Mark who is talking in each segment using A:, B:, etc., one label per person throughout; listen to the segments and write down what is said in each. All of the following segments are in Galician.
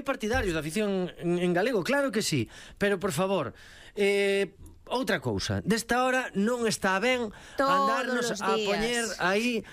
A: partidarios da afición en galego, claro que sí, pero por favor, outra cousa, desta hora non está ben andarnos a poñer aí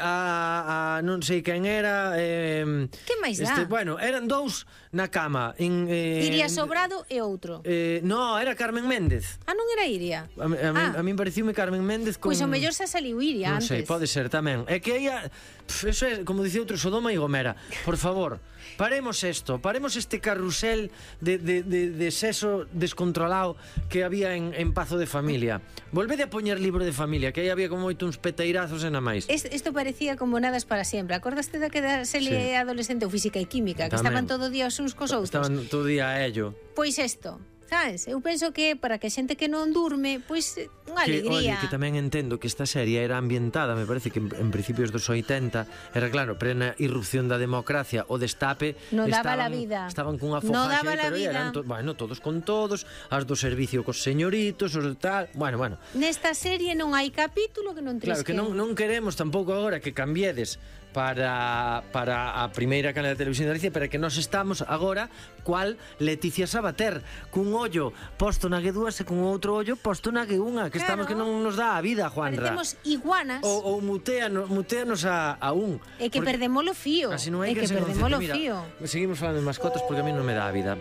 A: a non sei quen era,
B: que máis dá?
A: Bueno, eran dous na cama,
B: Iria Sobrado e outro.
A: No, era Carmen Méndez.
B: Non era Iria?
A: A min pareceume Carmen Méndez con...
B: Pois o mellor xa saliu Iria antes.
A: Non sei, pode ser tamén. É que ella, eso é, como dicía outro, Sodoma e Gomera. Por favor, paremos este carrusel de sexo descontrolado que había en Pazo de Familia. Volvede a poñer Libro de Familia, que aí había como moito uns peteirazos e na máis.
B: Isto parecía como Nadas para sempre. Acordaste da que da serie adolescente ou Física e Química, que estaban todo día os uns cos outros?
A: Estaban todo día a ello.
B: Pois isto, sabes? Eu penso que para que xente que non durme, pois unha alegría.
A: Oye, que tamén entendo que esta serie era ambientada, me parece que en principios dos 80, era claro, plena irrupción da democracia, o destape,
B: non daba la vida.
A: Estaban cunha fogaxe, pero eran todos con todos, as do servicio cos señoritos, os tal, bueno.
B: Nesta serie non hai capítulo que non trisque.
A: Claro, que non queremos tampouco agora que cambiedes para a primeira canal de televisión de Galicia, pero que nós estamos agora cual Leticia Sabater, cun ollo posto na G2 e cun outro ollo posto na G1, que estamos que non nos dá a vida, Juanra.
B: Parecemos iguanas.
A: Ou muteanos a un.
B: É que perdemos o fío.
A: É que perdemos o fío. Seguimos falando de mascotas porque a mí non me dá a vida.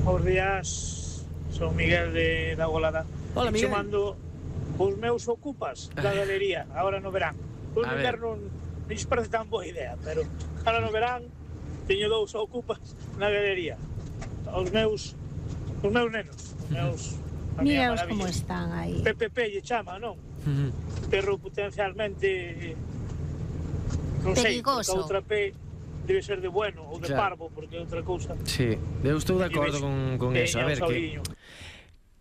C: Bos días, son Miguel de da Golada.
A: Hola, Miguel.
C: Chamando os meus ocupas da galería, agora no verán. Os no inverno non parece tan boa idea, pero agora no verán teño dous ocupas na galería. Os meus nenos,
B: Míraos como están aí.
C: PPP lle chama, non? Perro potencialmente non sei, outra P debe ser de bueno ou de parvo, porque é outra cousa.
A: Sí, eu estou de acordo con eso. A ver,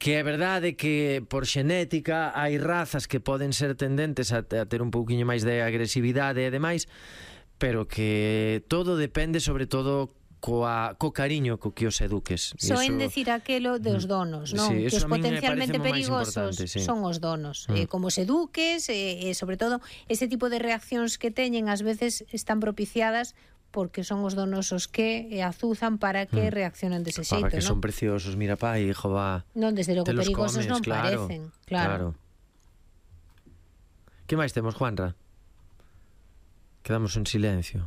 A: que é verdade que por xenética hai razas que poden ser tendentes a ter un pouquiño máis de agresividade e demais, pero que todo depende sobre todo co cariño co que os eduques.
B: Soen decir aquelo dos donos, non?
A: Sí,
B: que os potencialmente perigosos son os donos. Como os eduques, e sobre todo ese tipo de reaccións que teñen ás veces están propiciadas porque son os donos os que azuzan para que reaccionen dese xeito,
A: para que
B: non?
A: son preciosos, mira, pai, jova.
B: Non, desde logo perigosos non parecen. Claro.
A: Que máis temos, Juanra? Quedamos en silencio.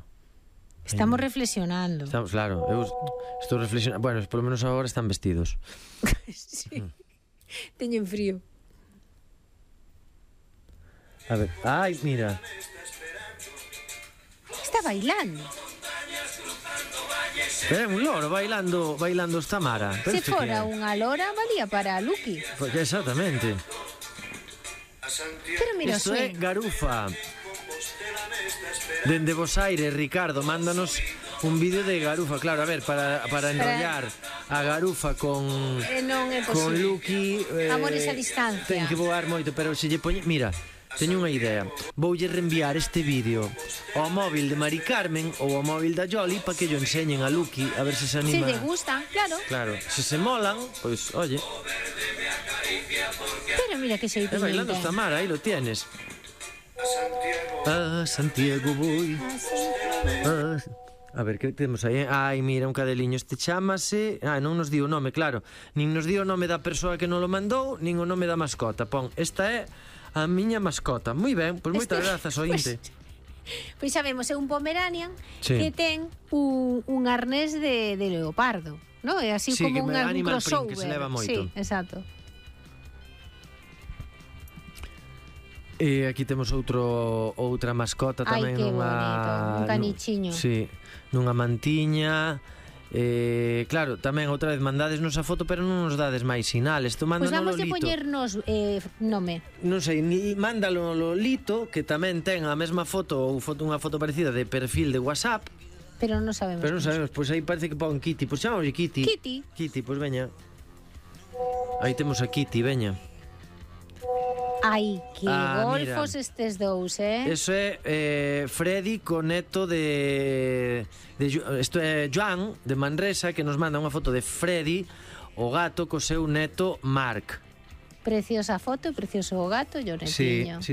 B: Estamos reflexionando.
A: Claro, eu estou reflexionando. Bueno, polo menos agora están vestidos.
B: Sí. Teñen frío.
A: A ver, ai, mira.
B: Está bailando.
A: É un loro bailando esta Mara.
B: Se fora unha lora, valía para Lucky.
A: Porque exactamente.
B: Pero mira,
A: isto é Garufa. Dende Bos Aires, Ricardo, mándanos un vídeo de Garufa. Claro, a ver, para enrollar a Garufa con Lucky,
B: amores a distancia.
A: Ten que voar moito, pero se lle poñe... Mira, teño unha idea. Voulle reenviar este vídeo ao móvil de Mari Carmen ou ao móvil da Yoli para que yo enseñen a Lucky a ver se se anima.
B: Se le gustan, claro.
A: Claro, se molan, pois, oye.
B: Pero mira que xeito.
A: Bailando esta Mara, aí lo tienes. A Santiago voy. A ver, que temos aí? Ai, mira, un cadeliño. Este chamase... non nos di o nome, claro. Nin nos di o nome da persoa que non lo mandou, nin o nome da mascota. Pon, esta é a miña mascota. Moi ben, pois moitas grazas, ointe.
B: Pois sabemos, é un Pomeranian que ten un arnés de leopardo, non? É así como un crossover.
A: Que se leva moito.
B: Sí, exacto.
A: E aquí temos outra mascota tamén.
B: Ai, que bonito, un canichiño.
A: Sí, nunha mantiña. Claro, tamén outra vez mandadesnos a foto, pero non nos dades máis sinales.
B: Pois vamos de poñernos nome.
A: Non sei, mándalo Lolito, que tamén ten a mesma foto ou unha foto parecida de perfil de WhatsApp.
B: Pero non sabemos.
A: Pois aí parece que pon Kitty. Pois chamamos Kitty. Kitty, pois veña. Aí temos a Kitty, veña.
B: Ai, que golfos mira. Estes dous,
A: Eso é Freddy co neto de isto é Joan de Manresa, que nos manda unha foto de Freddy, o gato co seu neto Marc.
B: Preciosa foto e precioso o gato e o netiño.
A: Sí,